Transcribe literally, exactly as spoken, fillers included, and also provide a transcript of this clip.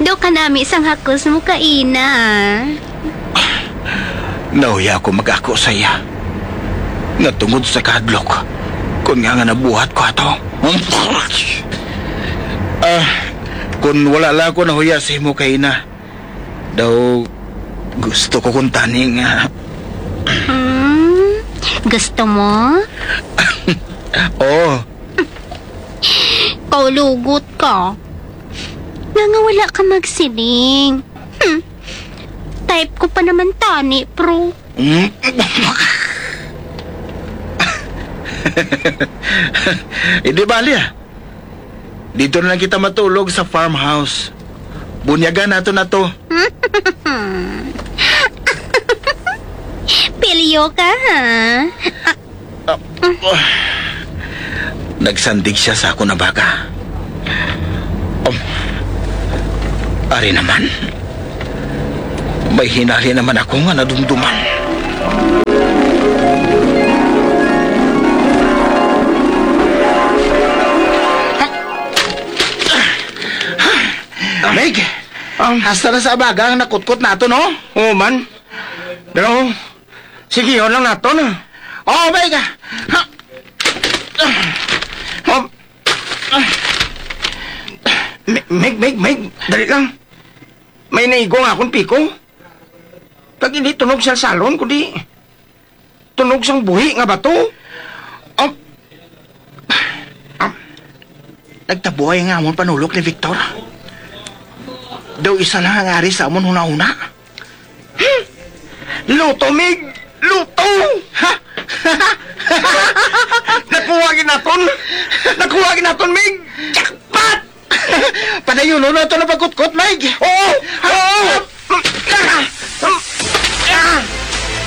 Daw kanami sang hakos mo kaina. Nahuya ako mag-ako sa iya nga tungod sa kahadlok, kon nga nga nabuhat ko ato. Ah, kon wala lang ako nahuya sa imo kaina, daw gusto ko kuntani nga. Hmm? Gusto mo? Oo. Kaulugot ka. Nga nga wala ka magsiling. Hmm. Type ko pa naman tani, pro. Mm. Hindi bali, ah. Dito na lang kita matulog sa farmhouse. Bunyagan nato na to. Pilyo ka, ha? Ah, ah. Nagsandig siya sa akon na baga. Um, ari naman. May hinali naman ako nga nadumduman. Meg, um, hasta na sa abaga ang nakutkot nato, no? Oo man. Pero, sige, yun lang nato, no? Oh, Meg! Ha? Oh. Me-, Meg, Meg, Meg, dali lang. May naigo nga akong piko. Kag hindi tunog sa salon, kundi tunog sang buhi nga bato. Am-, am-, nagtabuay nga amon panulok ni Victor. Daw isa lang ang ari sa amon hunahuna. Hmm? Luto, Mig! Luto! Ha? Nakuha ginaton! Nakuha ginaton, Mig! Jackpot! Padayon na to na pagkutkot, Mig! Oo!